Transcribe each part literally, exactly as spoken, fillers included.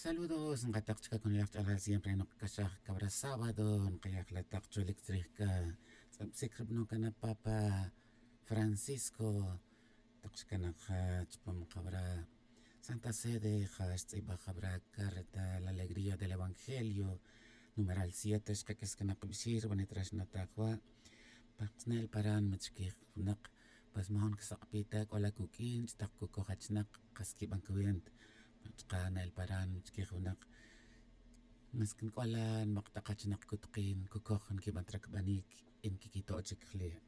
Saludos nkatak chica con yaj ch'ala siempre nokcaxaj cabra sábado. Nkayaj la tak cholic tzrij c'a tz'absic rbano cana papa francisco. Tak xcana ja chupam cabra santa sede ja xtz'ibaj cabra carta la alegría del evangelio numeral siete xkak'is cana kbixir bani trax nataj wa. Paktzne'l paran mitxquij winak. Pues majon ksak'pi ta c'o la cuq'uin ch'tak cucoj achnak kas quiban cuenta. Chka ne'el paran mitxquij winak. Mas kin c'o la nmak tak achnak cutukin cucoj nquiban tracbanic y nquiquito' chic jle'.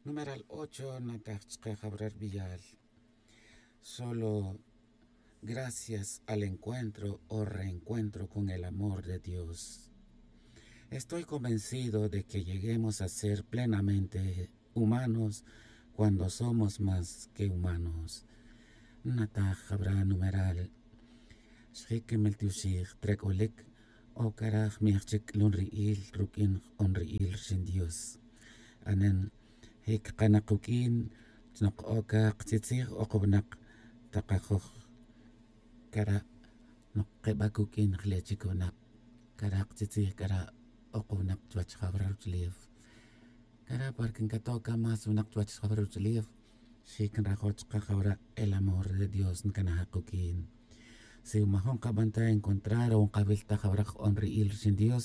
Numeral ocho nataj chka jabra rbiyal. Solo gracias al encuentro o reencuentro con el amor de dios. Estoy convencido de que lleguemos a ser plenamente humanos cuando somos más que humanos. Nataj jabra numeral. Xjic meltioxij trac'olic o cara jmij chic c'lun ri'il ruq'uin jq'on ri'il rxin dios. Anen jic kana kuq'uin chnok oca ktzitzij ok winak takajoj. Cara' nok keba' cuq'uin jle' chic winak. Cara' ktzitzij cara' ok winak chuwech jawra ruch'ulef. Cara' porque ncato' ca más winak chuwech jawra ruch'ulef. Xic nrajo' chka jawra el amor de dios ncanajak cuq'uin. Si majon kaban ta encontrar o nkawil ta jawra jq'on ri'il rixin dios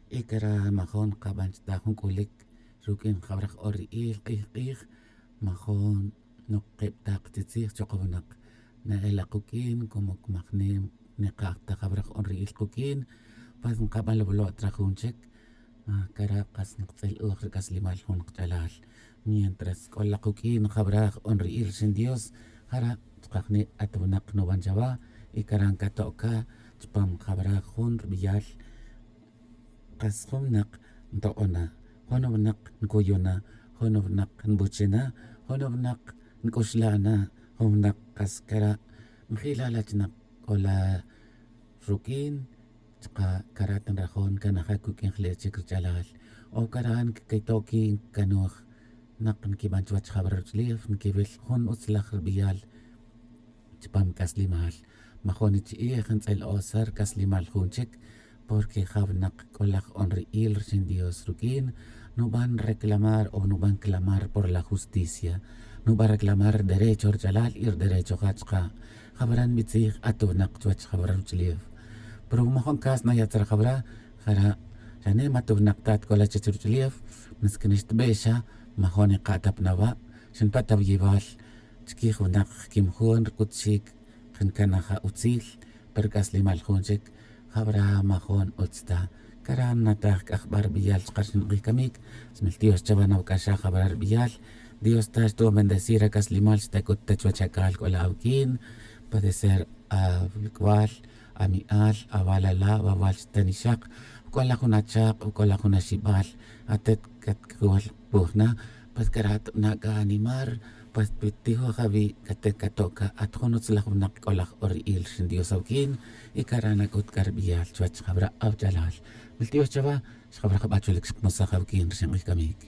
y cara' majon kaban chuta jun c'ulic ruq'uin jawra jq'on ri'il k'ij k'ij. Majon nok keb ta ktzitzij chok winak. Na'el akuq'uin como majnim nikaj ta jawra jq'on ri'il kuq'uin. Pues nkaban lawalo' tra jun chic. Cara' kas nktz'il-uj ri c'aslimal jun kach'alal. Mientras c'o la kuq'uin jawra jq'on ri'il rixin dios jara' chkajni' at winak nuban chawa. Y cara' ncato' ca chupam jawra jun rbiyal. Kas jun winak nto'o na, jun winak ncuyu' na, jun winak nbuchi' na, jun winak nc'uxla' na, jun winak kas cara' njila' la chinak c'o la ruq'uin. Chka' cara' ta nrajo' ncanajak cuq'uin jle' chic ruch'alal. O cara' nquito'qui ncanuj nak nquiban chuwech jawra ruch'ulef nquiwil jun utzlaj rbiyal. Chupam c'aslimal majon ichi'ij ntz'il-o ser c'aslimal jun chic. Porque ja winak c'o laj on ri'il rixin dios ruq'uin nuban reclamar o nuban clamar por la justicia. Nuban reclamar rderecho ruch'alal y rderecho ja chka'. Jawra nbitzij at winak chuwech jawra ruch'ulef. Pero wi majon cas naya' tzra jawra jara' xane' ma at winak ta at c'o la chech ruch'ulef. Mas que nixtbe' xa majon ika' ta pa nawa' xinpa' ta wiyibal. Chiquij winak jquim jun rc'ut xic jncanaj autzil. Pero c'aslimal jun chic jawra majon utz ta. Cara' nnataj c'a jba' rbiyal chka rxin k'ij camic. Smiltiox chawa nawac'axaj jawra rbiyal. Dios ta xtu'un bendecir ac'aslimal xtac'ut ta chuwech ac'al c'o la awuq'uin. Puede ser awic'wal, ami'al, awalala' awawal xtanixak. C'o la jun achak c'o la jun axibal. Atet catcawal puj na. Pues cara' tbana' c'a animar. Pues tijoj awi' cate cato' ca at jun utzlaj winak c'o laj ori'il rixin dios awuq'uin. Y cara' nac'ut c'a rbiyal chuwech jawra awach'alal. Miltiox chawa xjawra jaba' chulic xkmusaj awuq'uin rixin k'ij camic.